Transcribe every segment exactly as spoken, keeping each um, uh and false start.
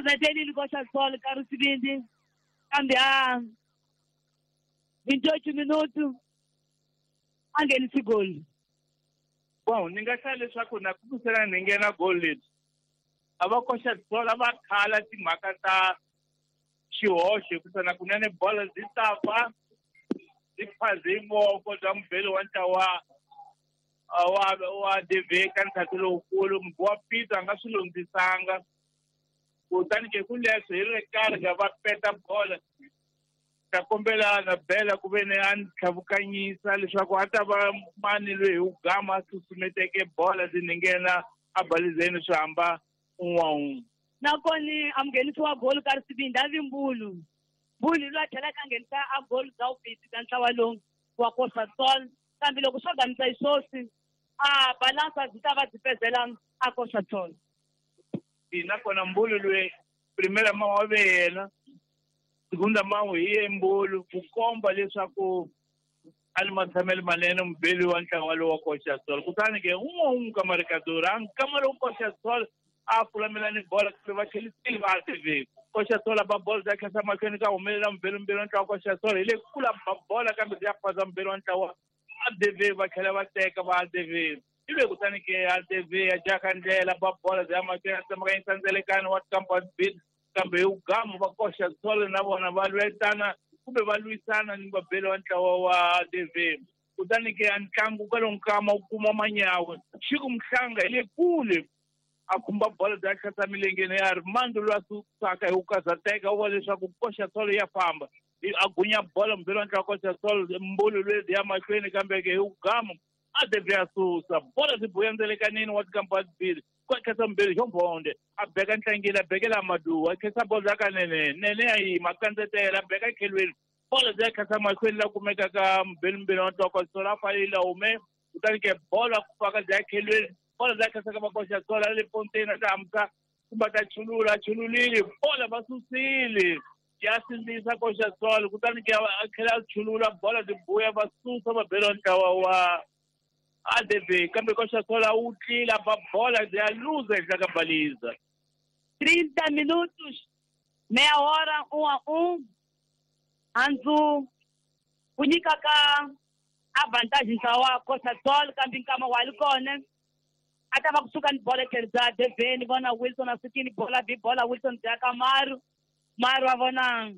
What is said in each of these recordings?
vetelile Costa Sol ka Sibindi kambe a vinte e oito minutos a nghenisi goli. Bom, ni nga hlaya leswaku na kumisela ni nghena goli leti a va Costa Sol a va khala timhaka ta xihoxo hikusa na kunene bola byi ta fa byi phaze voko bya mubeli wa ntlawa wa wa D V ka ntlhatu lowukulu wa Peter a nga swi lundzisanga kutani ke ku leswo hi ri karhi ka va peta bola ta kombela na Bela ku ve ni a ni tlhavukanyisa leswaku a ta va mani loyi hi ku gama a susumeteke bola ndzi ni nghena a balizeni swi hamba un'we wa un'we. Nakona a munghenisi wa goli ka Risibindi a vi Mbulu. Mbulu loyi a tlhelaka a nghenisa a goli bya vubisi bya ntlawa lowu wa Costa Sol kambe loko swo gamisa xiswoswi a balansa byi ta va byi pezela a Costa Sol. Nakona Mbulu loyi primera mama wa ve yena segunda mama hi ye Mbulu ku komba leswaku a ni matshamelo manene mubeli wa ntlawa lowu wa Costa Sol kutani ke un'we un'we ka marikadori a nkama lowu Costa Sol a fulamela ni bola kambe va tlhelisile va A T V Costa Sol ba bola bya khensa mahlweni ka humelela mubeli mbirhi wa ntlawa Costa Sol hi le kula ba bola kambe bya phaza mubeli wa ntlawa A D V va tlhela va teka va A D V ivi kutani ke A D V ya jaka ndlela ba bola bya mahlweni a tsemakanyisa ndzelekano wa Campus Beat kambe hi ugamu va Costa Sol na vona va lwetana kumbe va lwisana ni vabeli wa ntlawa wa A D V kutani ke a ntlangu kwalomu nkama wu kuma manyawe Xiku Mhlanga hi le kule a khumba bola bya tlhasa milengeni ya Armando loyi a susaka hi ku karhateka u vona leswaku Costa Sol ya famba a gunya bola mubeli wa ntlawa Costa Sol Mbulu loyi ya mahlweni kambe ke hi ugamu a D V a susa bola byi buya ndzelekanini wa Campus Beat kwa khensa mbirhi xo mbonde a beka ntlangile a bekela Maduwa a khensa bola bya ka nene nene ya yima a kandzetela a beka khelweni bola bya khensa mahlweni la kumeka ka mubeli mbirhi wa ntlawa Costa Sol a falela hume kutani ke bola ku faka bya khelweni bola bya khensa ka va Costa Sol a le ponteni a ta hamsa kumbe ta chulula a chululile bola va susile ya sindzisa Costa Sol kutani ke a tlhela a chulula bola byi buya va susa vabeli wa ntlawa wa A D V kambe Costa Sol a wu tlila ba bola ya luza henhla ka baliza. trinta minutos meia hora um a um Anzu ku nyika ka a vantagem ntlawa Costa Sol kambe nkama wa li kona a ta va kusuka ni bola tlhelo bya D V ni vona Wilson a sukini bola bi bola Wilson bya ka Maru Maru a vona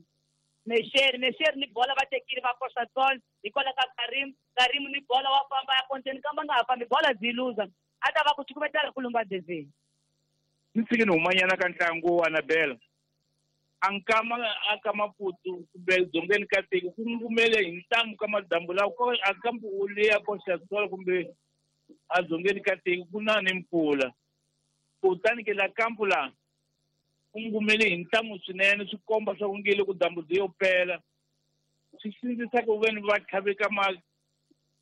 Mesheri Mesheri ni bola va tekile va Costa Sol hikwalaho ka Karim Karim ni bola wa famba ya konteni kambe a nga ha fambi bola byi luza a ta va ku cukumetela ku lumba D V. Ni tshiki ni humanyana ka ntlangu wa Anabela a nkama a ka Maputo kumbe dzongeni ka tiko ku ngumele hi ntamu ka madambu lawa a kambe u leya Costa Sol kumbe a dzongeni ka tiko ku na ni mpfula kutani ke la kampu la ku ngumele hi ntamu swinene swi komba swa ku ngile ku dambu byi yo pela swi sindzisa ku veni va tlhaveka ma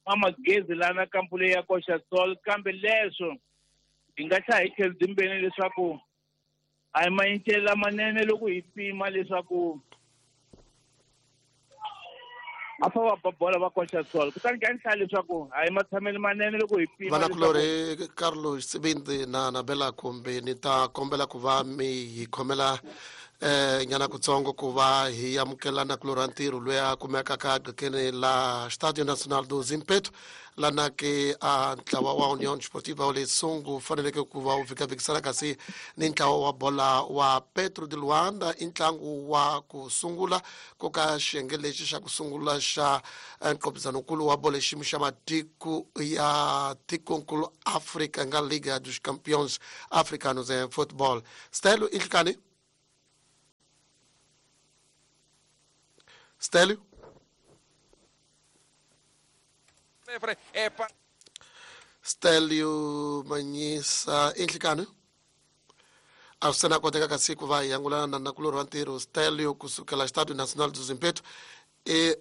ma magezi lana kampu leyi ya Costa Sol kambe leswo hi nga tlha hi tlhelo byimbeni leswaku a hi mayincele lamanene loko hi pima leswaku a fa va ba bola va Costa Sol kutani ka ni hlaya leswaku a hi matshamelo manene loko hi pima. Vanakulorhi Carlos Sibindi na Nabela kumbe ni ta kombela ku va mi hi khomela eh nyana kutsongo ku va hi amukela nakulorhi wa ntirho loyi a kumekaka ka qhekeni la Estádio Nacional do Zimpeto lana ke a ntlawa wa União Desportiva wa le Sungu faneleke ku va wu vhikavikisana kasi ni ntlawa wa bola wa Petro de Luanda i ntlangu wa ku sungula ku ka xiyenge lexi xa ku sungula xa nqopizanokulu wa bola xiyimo xa matiko ya tikonkulu Afrika nga Liga dos Campeões Africanos em Football. Stelo Inhlikani Stélio? Stélio Manhisa Inhlikani a swi na koteka ka siku va hi angulana na nakulorhi wa ntirho Stélio kusukela Estádio Nacional do Zimpeto e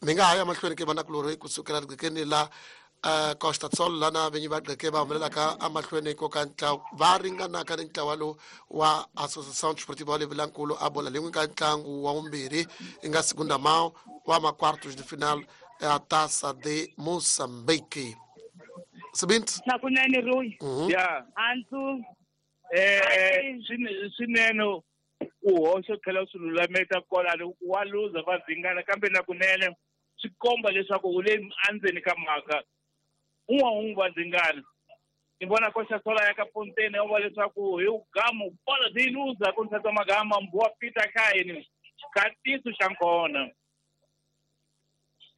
mi nga ha ya mahlweni ke va nakulorhi kusukela riqhekeni la uh, Costa Sol lana vinyi va qheke va humelelaka emahlweni ko ka ntlawa va ringanaka ni ntlawa lowu wa Associação Desportiva wa Levilankulu a bola lin'we ka ntlangu wa vumbirhi i nga segunda mão wa ma quartos de final ya Taça de Moçambique. Sibindi Nakunene Rui yeah Anzu Eh swinene u hoxa u tlhela u swi lulamisa kwalano wa luza va dzingana kambe na kunene swi komba leswaku u le endzeni ka mhaka un'we un'we va dzingana. Ni vona koxa sola ya ka Fontaine ya va leswaku hi gamu bola di luza ku ntsatsa magama mbuwa Peter Kaini xikatiso xa nkona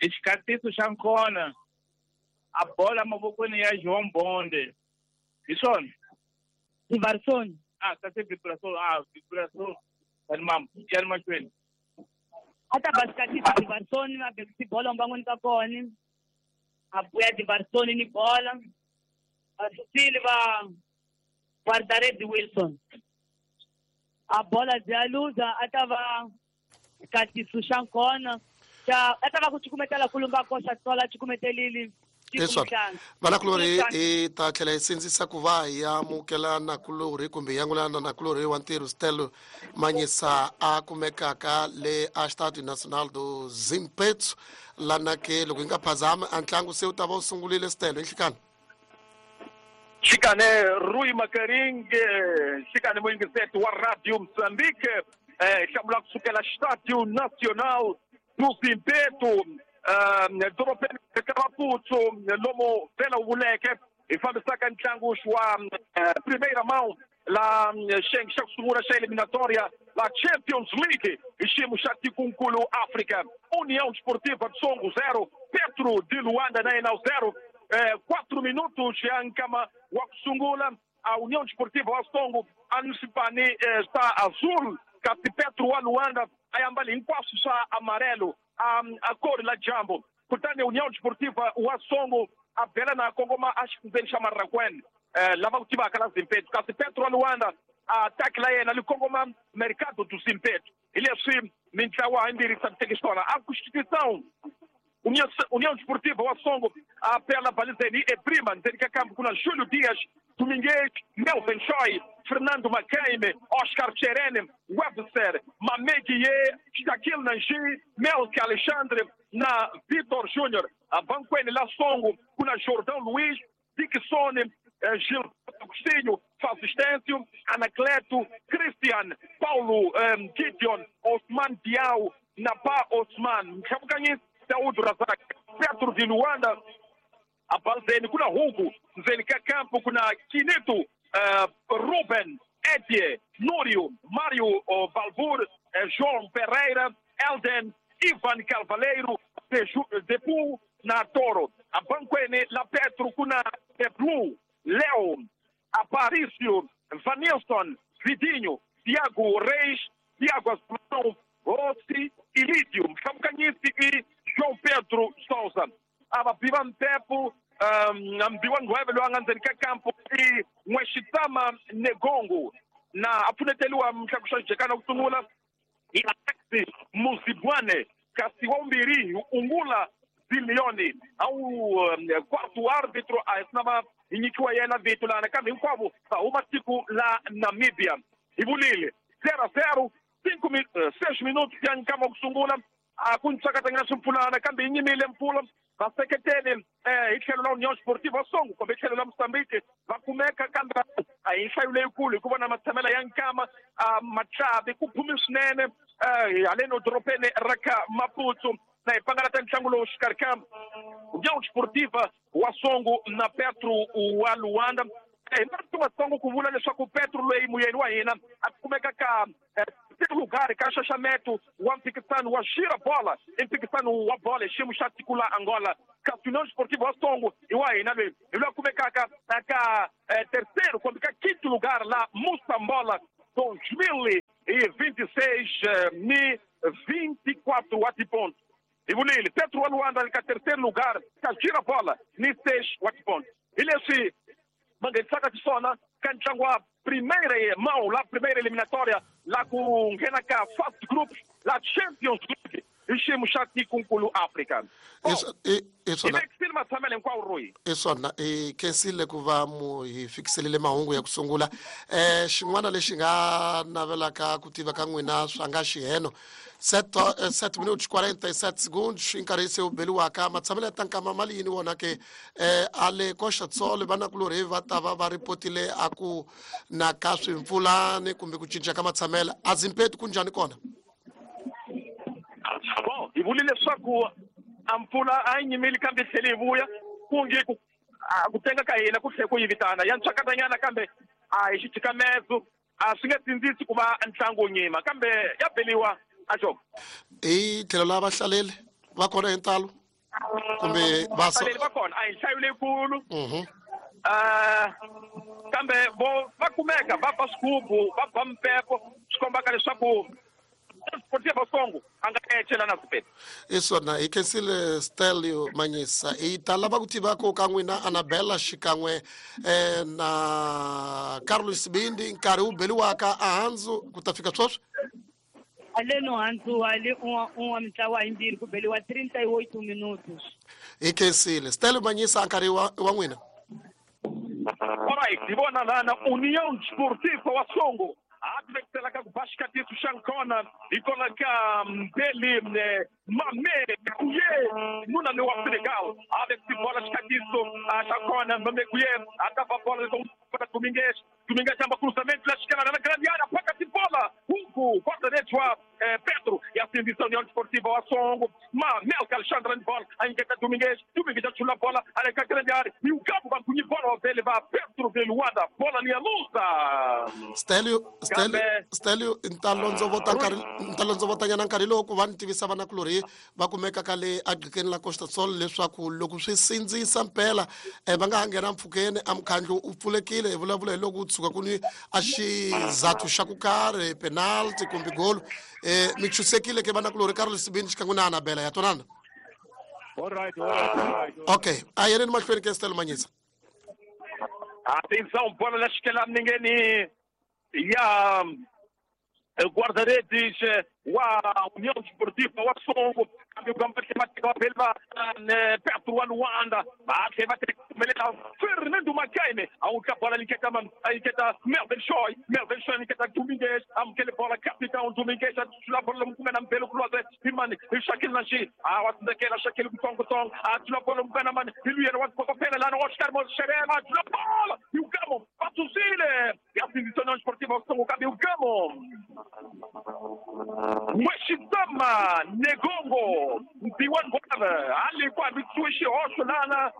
i xikatiso xa nkona a bola mavokweni ya João Bonde hi swona Ivarson ah kasi vibração ah vibração yani mam yani mahlweni a ta ba xikatiso Ivarson va bekisi bola mbangweni ka kona a buya Ivarson ni bola a susile va guarda-redes Wilson a bola ya luza a ta va xikatiso xa nkona xa a ta va ku cukumetela kulumba koxa tsola cukumetelile leswaku vanakulorhi hi ta tlhela hi sindzisa ku va hi amukela nakulorhi kumbe hi angulana nakulorhi wa ntirho Stelo Manyisa a kumekaka le a Estádio Nacional do Zimpeto lana ke loko hi nga phazami a ntlangu se wu ta va wu sungurile Stelo hi nhlikani Xikane Rui Makaringe xikane muyingiseti wa Radio Moçambique eh hlamula kusukela Estádio Nacional do Zimpeto dorobeni ka Maputo lomo vela wu vuleke hi fambisaka ntlangu wa primeira mão la xiyenge xa ku sungula xa eliminatória la Champions League hi xiyimo xa tikunkulu África. União Desportiva de Songo zero, Petro de Luanda na yena zero. Eh, quatro minutos ya nkama wa ku sungula a União Desportiva wa Songo a Nusipani eh, está azul kasi Petro wa Luanda a ambali hinkwaswo swa amarelo a, a cor la jambo kutani União Desportiva wa Songo a bela na kongoma a xifundzeni xa Marraquene eh, lava ku tivaka la Zimpeto kasi Petro wa Luanda a ataki la yena li kongoma Mercado do Zimpeto hi leswi mintlawa yimbirhi tshamisekeke xiswona a Constituição União, União Desportiva wa Songo a pela balizeni e prima ndzeni ka kampo kuna Júlio Dias, Domingues, Melvin Choi, Fernando Macaime, Oscar Cherene, Webster, Mameguier, Shaquille Nanji, Melk Alexandre na Vitor Júnior. A banquene la Songo kuna Jordão Luiz, Dixon, eh, Gilberto Agostinho, Fasistêncio, Anacleto, Christian, Paulo eh, Gideon, Osman Diao, Napa Osman, Mxabukanyisi, Daúd Razak, Petro de Luanda, a Balzeni, kuna Hugo, Nzeni Campo, kuna Quinito, uh, Ruben, Edie, Núrio, Mário uh, Balbur, uh, João Pereira, Elden, Ivan Carvalheiro, Depu, na Toro, a Banquene, La Petro, kuna Deblu, Léo, Aparício, Vanilson, Vidinho, Tiago Reis, Tiago Assunção, Rossi e Lídio, Mxamukanisi e João Pedro Souza. Ava biva mpepo mbiwa ngweve loyi a nga ndzeni ka kampo i N'wexitsama Negongo na a pfuneteliwa mhlaku xa xijekana ku sungula hi Alexi Muzibwane kasi wa vumbirhi hi Ungula Ziliyoni a wu quarto árbitro a hi sinava hi nyikiwa yena vito lana kambe hinkwavo va huma tiko la Namibia. Hi vulile zero a zero cinco seis minutos ya nkama ku sungula a ku ntsakatanyana swimpfulana kambe yi nyimile mpfula vaseketeli eh hi tlhelo la União Desportiva Songo kumbe tlhelo la Moçambique va kumeka kambe a hi nhlayo leyikulu hikuva na matshamela ya nkama matlavi ku phumi swinene eh haleno dorobeni ra ka Maputo na hi pangalata ntlangu lowu xikarhi ka União Desportiva wa Songo na Petro wa Luanda. Hi marito matsongo ku vula leswaku Petro loyi muyeni wa hina a kumeka ka lugar ka xaxameto wa mphikisano wa xira bola i mphikisano wa bola hi xiyimo xa tiko la Angola kasi União Desportiva wa Songo i wa hina loyi hi loyi a kumekaka ka terceiro kumbe ka quinto lugar la Moçambola dois mil e vinte e seis ni vinte e quatro wa tiponto. Hi vulile Petro wa Luanda ka terceiro lugar ka xira bola ni seis wa tiponto. Hi leswi va nghenisaka xiswona ka ntlangu wa primeira mão la primeira eliminatória lá ku nghena ka first group la Champions League hi xiyimo xa tikonkulu Afrika. I swona hi vekisile matshamelo hinkwawo Royi. I swona i khensile ku va mu hi fikiselile mahungu ya ku sungula. um xin'wana lexi nga navelaka ku tiva ka n'wina swa nga xiheno sete minutos quarenta e sete segundos nkarhi se wu beliwaka matshamelo ya tankama mali yini wona ke um a le Costa do Sol vanakulorhi va ta va va ripotile a ku na ka swimpfulani kumbe ku cinca ka matshamelo a Zimpeto ku njhani kona? Bon, hi vule leswaku a mpfula a yi nyimile kambe yi tlhele yi vuya ku nge ku ku tenga ka hina ku tlhele ku yi vitana ya ntswakatanyana kambe a hi xitshikamezo a swi nge tsindzisi ku va ntlangu wu nyima kambe ya beliwa a xo. Hi tlhelo la vahlaleli va kona hi ntalo kumbe vahlaleli va kona a hi nhlayo leyikulu um kambe vo va kumeka va ba swigubu va ba mpepo swi kombaka leswaku Sportiva Songo a nga ecela na Zimpeto. I swona hi khensile Stelio Manyisa. Hi ta lava ku tiva ku ka n'wina Anabela xikan'we um na Carlos Sibindi nkarhi wu beliwaka ahandzu ku ta fika sweswi. Aleno handzu ali un'we un'we mintlawa yimbirhi ku beliwa trinta e oito minutos. Hi khensile Stelio Manyisa nkarhi wa wa n'wina. Alright, hi vona lana União Desportiva wa Songo a ka ku ba xikatiso xa nkona hi kona ka Mbeli Mame Kuye nuna lowa Senegal a vekisi bola xikatiso xa kona Mame Kuye a ta va bola para Domingues Domingues chama cruzamento la esquerda na grande área paca de bola Hugo guarda-redes wa Pedro e a sindição União Desportiva wa Songo ma Melka Alexandre de bola a inquieta Domingues Domingues já chula bola a grande área e o Gabo vai punir bola dele va Pedro de Luanda bola linha lusa. Stelio Stelio Stelio ntalondzovota nkarhi ntalondzovotanyana nkarhi lowu ku va ni tivisa vanakulorhi va kumeka ka le agqikeni la Costa do Sol leswaku loko swi sindzisa mpela um va nga ha nghena mpfhukeni a mukhandlu u pfulekile hi vulavula hi loko u tshuka ku ni a xizathu xa ku karhi penalty kumbe golo um mi chusekile ke vanakulorhi Carlos Sibindi xikan'we na Anabela ya twanana. Alright, alright, alright. Okay, a yeneni mahlweni ke Stelio Manyisa. Atenção, bola na esquerda ninguém ya guarda-redes wa União Desportiva wa Songo kambe va phela Petro wa Luanda va tlhela va teka Fernando Macaime a wu ka bola liketa a liketa Melvin Shoy Melvin Shoy liketa Domingues amukele bola capitão Domingues a tshula bola mkumena mbele kulwaze himani hi Shakil Nashi a wa tsekela Shakil kutsongo tsongo a tshula bola mkumena mani hi luyena wa phela lana Oscar Mosherema tshula bola e o Gamo patusile e a União Desportiva wa Songo kambe o Gamo Mweshitama Negongo Mpiwan Gwava ali kwa bitsuishi hoxo lana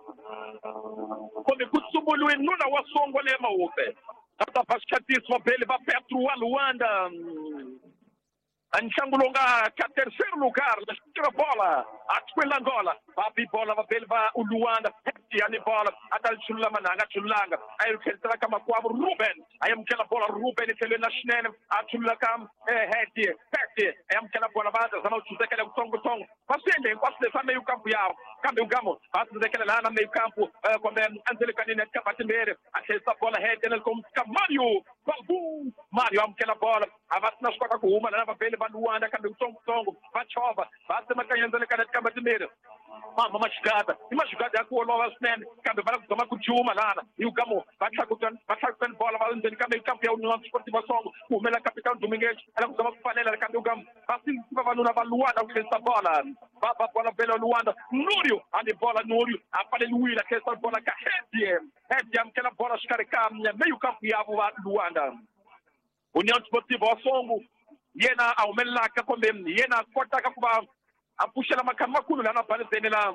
kumbe ku tsumbuluwe nuna wa Songo le mawupe ata pascatismo bele va Petro wa Luanda ntlangu lowu nga ka terceiro lugar la bola a Angola va bi bola va bele va Luanda yani bola a ta chulula mananga chululanga a yi tlhelisela ka makwavo Ruben a yi amukela bola Ruben i tlhelweni na xinene a chulula ka Heti Heti a yi amukela bola va zama ku tsundzekela kutsongotsongo va swi endle hinkwaswo leswi a meyu kampu yawo kambe ugamo va tsundzekela laha na meyu kampu kumbe endzelekanini ya tikamba timbirhi a tlhelisa bola Heti na ka Mario Balbu Mario amukela bola a va sina swi kota ku huma lana va bele va Luanda kambe kutsongotsongo va chovha va tsemakanya endzelekanini ya tikamba timbirhi mama maxigada i maxigada ya ku olova swinene kambe va lava ku zama ku juma lana hi ugamo va tlakutani va tlakutani bola va ndzeni kambe kampu ya União Desportiva Songo ku humela capitão Domingues a lava ku zama ku pfalela kambe ugamo va sindzisa vavanuna va Luanda ku tlhelisa bola va ba bola bela Luanda Núrio ali bola Núrio a pfaleliwile a tlhelisa bola ka Hedi Hedi amukela bola xikarhi ka meio kampu yavo va Luanda União Desportiva wa Songo yena a humelelaka kumbe yena a kotaka ku va a puxela makhamba makulu lana balezeni la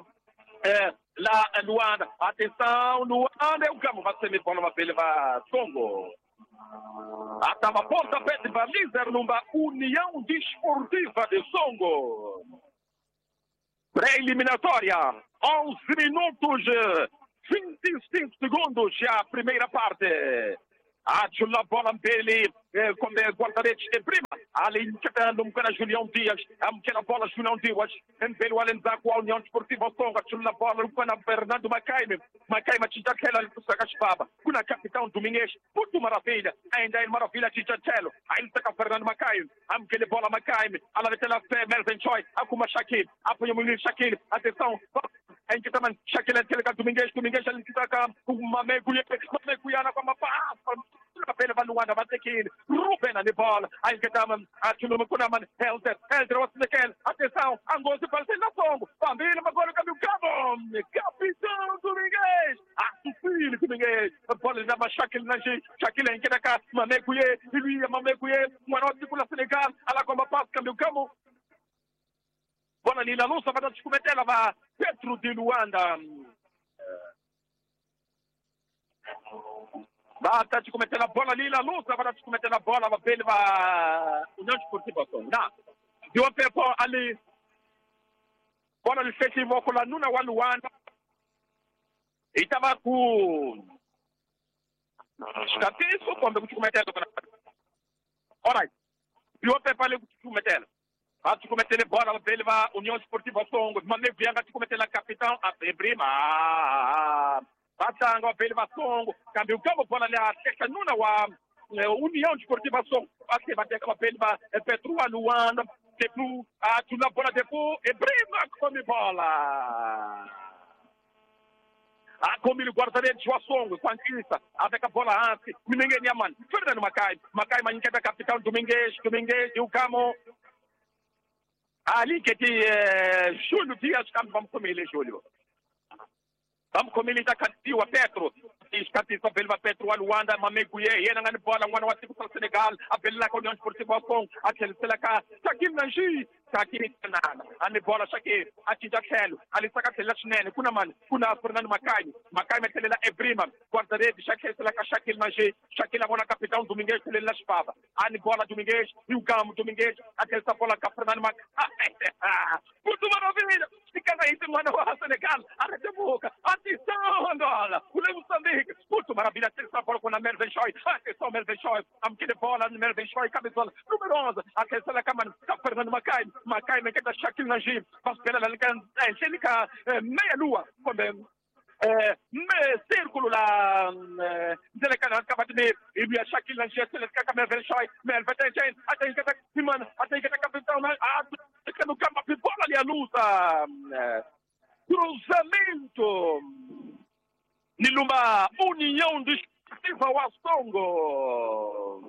eh, la Luanda. Atenção, Luanda, o Gamo vai ser bola va bele va Songo. Atava pontapé de baliza numa União Desportiva de Songo. Pré-eliminatória, onze minutos, vinte e cinco segundos já a primeira parte. A bola mbele kombe guarda-redes de prima ali nchetando mkwena Julião Dias amkela bola Julião Dias mbele wale nzaku wa União Desportiva Songa chula bola mkwena Fernando Macaime Macaime chichakela likusaka chibaba kuna capitão Domingues muito maravilha ainda é maravilha chichachelo aí saka Fernando Macaime amkele bola Macaime ala vetela Melvin Choi akuma Shakil apoia muito Shakil atenção ainda Shakil antele Domingues Domingues ali saka Mamegu Mamegu yana kwa mapasa pele va Luanda vatekile Ruben ali bola aí que tava atuluma kuna man Helder Helder wasekel atenção angozi para na songo pambile magolo kambi cabo capitão Domingues atusile Domingues a bola da Shakil na Shakil engena ka Mamekuye iluya Mamekuye mwana wa tikula Senegal ala kwa pass kambi cabo bola lila lusa va tshikumetela va Petro de Luanda Bata te cometendo a bola ali na luta, vai te cometendo a bola, va bene, va União Desportiva Songo. Deu a pepo ali. Bola ali fez com la nuna wa Luanda. E tava com Escatiço, como te cometendo. Alright. Deu a pepo ali te cometendo. Vai te cometendo a bola, va bene, va União Desportiva Songo. Mane Vianga te cometendo a capitão, a Brima. Batanga pele Songo, cambio campo bola ali a nuna wa União Desportiva Songo, bate bate com a pele va Petro Luanda, depois a tuna bola depois e Brima come bola. A come o guarda-redes wa Songo, Quantista, avec a bola antes, ninguém nem man. Fernando Macai, Macai manqueta capitão Domingues, Domingues e o Camo. Ali que de Júlio Dias, vamos comer ele, Júlio. Vamos comer ele da Cativa Petro. Escatisa Belva Petro Luanda, Mameguye, yena ngani bola ngwana wa tiko Senegal, a bella com União Desportiva Songo, a Tselaka, Shakil Nanji, Shakil Tanana, a bola Shakil, a Tijachelo, ali saka Tela Chinene, kuna man, kuna Fernando Macai, Macai metelela Ebrima, guarda-redes, Shakil Selaka Shakil Nanji, Shakil a bola capitão Domingues, Telela Chipava, a bola Domingues, e o Gamo Domingues, a Tela bola ka Fernando Macai. Muito maravilha! Fica aí, mano, Senegal, a Retebuca, atenção, Angola, o Moçambique, muito maravilha, atenção, bola com a Melvin Choi, atenção, Melvin Choi, amquele bola, Melvin Choi, cabeçola, número onze, atenção, a câmara, Fernando Macai, Macai, me queda Shaquille Najib, vai pela Angélica, meia lua, como círculo lá, Zelekana acaba de me, e a Shaquille Najib, Zelekana, Melvin Choi, Melvin Choi, até que tá, até que tá capitão, a no campo, a bola ali a luta, cruzamento. Niluma União Desportiva wa Songo.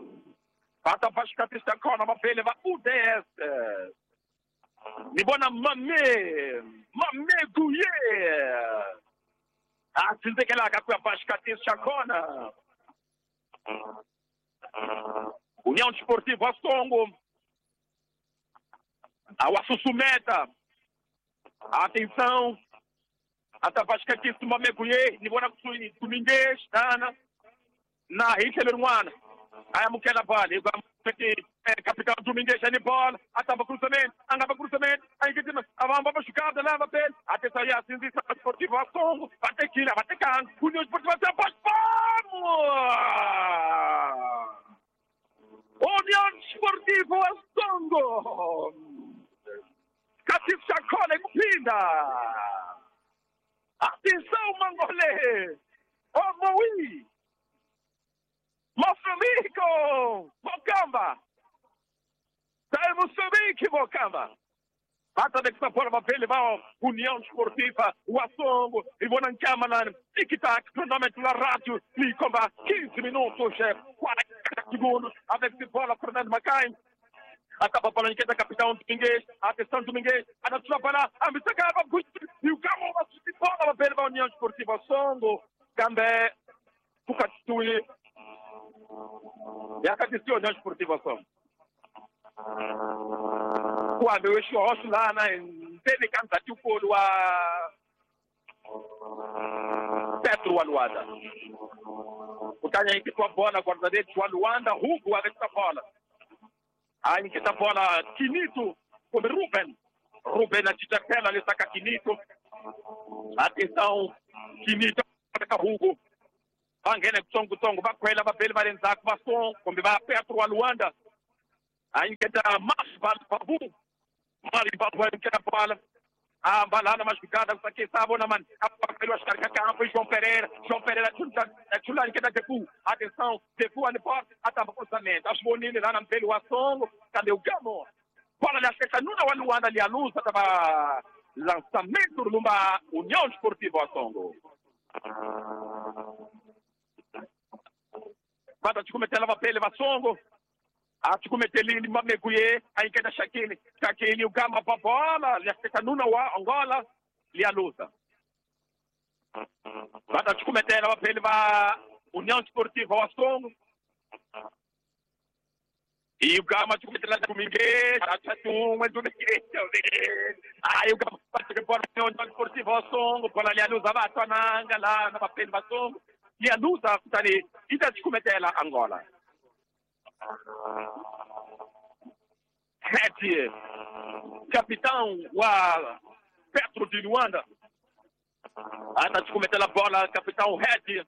Bata Vascatista Kona Mapele va U D S. Nibona Mame, Mame Guye. Atsindekela ka kwa Vascatista Kona. União Desportiva wa Songo. Awa susumeta. Atenção. Ata Vascatista Mameguye, nibona Domingues, Nana, na Hitler Mwana. Aí mukela vale, capitão Domingues ali bola, atava cruzamento, andava cruzamento, aí que tem, avamba para chocada lá, va bem, até sair assim, Esportivo Songo, até Quila, até Can, União Esportiva vamos! União Esportiva Songo! Catif Chacona e Mupinda! Atenção, Mangolé! Oh, Moui! Moçambique! Mocamba! Sai Moçambique, Mocamba! Bata de que bola vai levar União Esportiva, o Assongo, e vou na câmara, tic-tac, cronômetro na rádio, e comba quinze minutos, quarenta segundos, a ver se bola Fernando Macai. Acaba a bola em queda, capitão Domingues, atenção Domingues, a natura para a Missacaba, e o Gamo, a bola vai levar a União Esportiva, Songo, Gambé, Pucatui, e a Cadiceu, União Esportiva, Songo. Quando eu estou lá, na Tele canta o a Petro Aluanda. O cara aí que com a bola, guarda-redes, o Aluanda, Hugo, a essa bola. Aí que tá bola, Quinito, com Ruben. Ruben, a Tijacela, ele saca Quinito. Atenção, Quinito, saca Hugo. Va nghena kutsongokutsongo va khwela vabeli va le ndzhaku va Songo kumbe va Petro wa Luanda. A nyiketa Mali Babu. Mali Babu a nyiketa bola. A balana machucada kusakisa bona mani apakeliwa xikarhi ka kampo i João Pereira. João Pereira chula nyiketa Defu. Atenção, Defu ani porte atamba cruzamento. A swi vonile lana mbeli wa Songo kambe u gamo. Bola liaxeka nuna wa Luanda lialuza tava lançamento lumba União Esportiva wa Songo. Bata tikumetela vapele va Songo. A tikumetelile mameguye a nyiketa Shakili. Shakili u gama pa bola liaxeka nuna wa Angola lialuza. Bata tikumetela vapele va União Esportiva wa Songo. E o Gama tikumetela Domingues, achatumwe Domingues. Aí o Gama bate bola União Esportiva wa Songo, bola lialuza va twananga la na vapele va Songo. Lialuza kutani ita tikumetela Angola. Sete, capitão wa Petro de Luanda. Ata tikumetela bola capitão Red.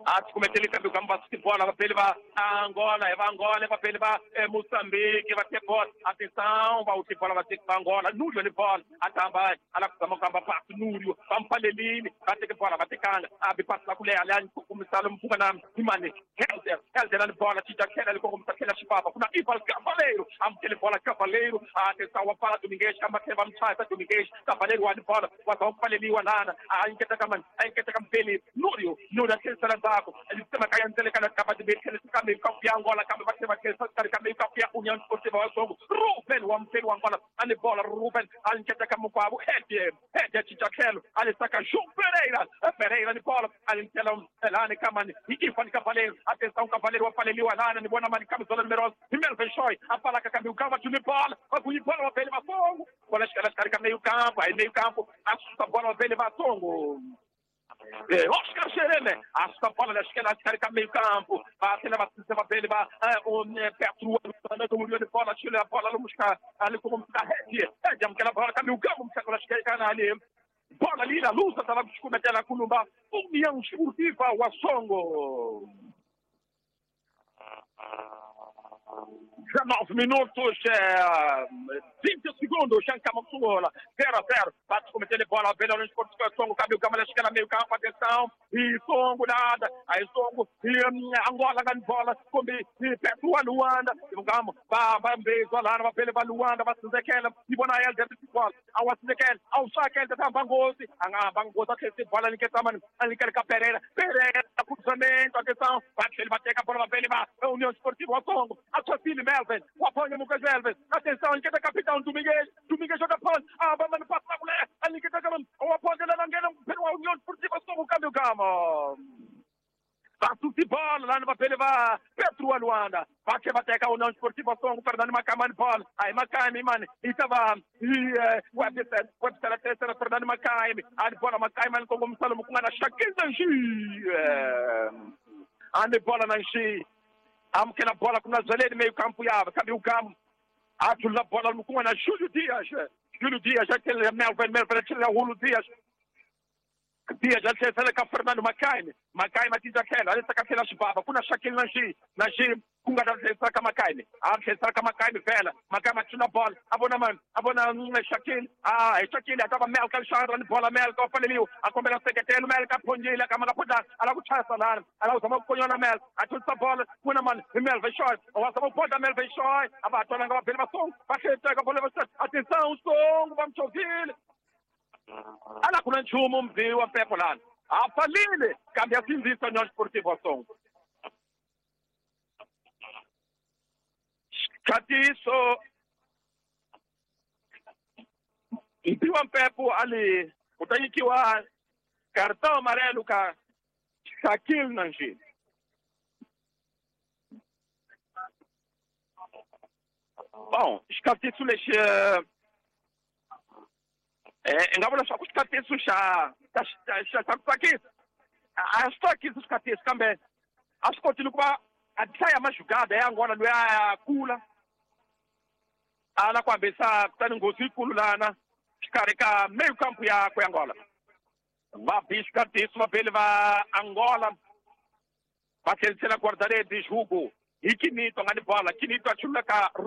A tikumetela kambe kamba bola vapele va Angola, va Angola, vapele va Moçambique, va ter bola. Atenção, va uti bola va ter pa Angola, Núrio ni bola. Atamba ala kuzama kamba passe Núrio, pampalelini, va ter bola, va ter kanga. Abi passe la kulea ali começar mpuka na imane. Helder, Helder ni bola, tija kela ali começar kela chipapa. Kuna Ival Cavaleiro, amtele bola Cavaleiro. Atenção, wa fala Domingues, kamba kela mchaya Domingues, Cavaleiro wa bola, wa pampaleli wa lana. A inketa kama, inketa kampeli Núrio, Núrio aquele salandaco. Ele tema kaya ntele kana kaba de bekele kambe kampi Angola kambe bakele bakele kambe kampi União Esportiva wa Songo. Ruben wa mfeli wa Angola ani bola Ruben alinketa kama kwabo Hed Hed Chichakelo alisaka João Pereira Pereira ni bola alinkela elani kama ni Ifan Cavaleiro. Atenção Cavaleiro wa paleliwa lana ni bona mani camisola número onze Melvin Choi apala kambe ukama tuni bola wa bola wa pele wa Songo. Bola escala escala meio campo aí meio campo assusta bola wa pele wa Songo. Oscar Xereme, a bola da esquerda, esquerda meio campo, bate na va bene, va o Petro, do de bola, tira a bola, buscar ali como da rede, é aquela bola caminho campo, buscar a esquerda ali. Bola ali na luta, tava cometendo a Columba, União Esportiva wa Songo. dezenove minutos, é, vinte segundos, Xancama zero a zero, bate cometendo bola, vem no Esporte Songo, cabe o Gama, esquerda, meio campo, atenção, e Songo nada, aí Songo, e Angola ganha bola, come, e Petro a Luanda, e o Gama, vai, vai, vai, vai, vai, vai, Luanda, vai, Zequela, e Bonael, dentro de bola, ao Zequela, ao Saquel, da Bangosi, a Bangosi, aquele bola, ali que tá, mano, ali que é Pereira, Pereira, cruzamento, atenção, bate, ele vai ter a bola, vai, ele vai, União Esportiva, o Songo, a sua filha, Melvin, o apoio Lucas Melvin, atenção, ele quer capitão Domingues, Domingues joga pano, ah, mano, passa na mulher, ali que tá o apoio da Langueira, pelo União Esportiva, Songo, câmbio, gama. Passa de bola lá no papel, vai Petro Luanda, bate, bate, a União Esportiva, Songo, Fernando Macamani, bola, aí Macaime, mano, e tava, e Webster, Webster, a terceira, Fernando Macaime, a bola Macaime, com o Gonçalo Mucunga, Shaquille Nanji, a bola Nanji. Amkela bola com Nazaré meio campo yava, cabe o campo. Atula bola no com Júlio Dias. Júlio Dias, aquele Melvin, Melvin, aquele Júlio Dias. Dias, aquele com Fernando Macaime. Macaime atinge aquela, ali saca aquela chibaba, com a Shaquille Nanji, Nanji, com a saca Macaime. A saca Macaime vela, Macaime atira bola, abona man, abona Shaquille. Ah, Shaquille atava Melka Alexandre, bola Melka, o Faleliu, a combinação secretário Melka Pondilha, câmara podar, ela kuchasa lá, ela usa uma conhona Mel, atira a bola, com a man, Melvin Choi, o asa pode Melvin Choi, a batona ngaba pela som, vai pega a bola, atenção, som, vamos ouvir. Ala kuna nchumu mvi wa pepo lana. Afalile kambe asinzisa União Esportiva Songo. Katiso mpi wa mpepo ali kutanyikiwa cartão amarelo ka Shaquille Nanji. Bom, xikatiso lexi eh nga vula swa ku xikatiso xa xa xa ku tsakisa a swi tsakisi xikatiso kambe a swi kotile ku va a hlaya majugada ya Angola loyi a kula a la ku hambisa kutani nghozi yikulu lana xikarhi ka meio campo ya ku Angola va bi xikatiso vabeli va Angola Va tlherisela guarda-redes Hugo hi Kinito a nga ni bala Kinito a chulula ka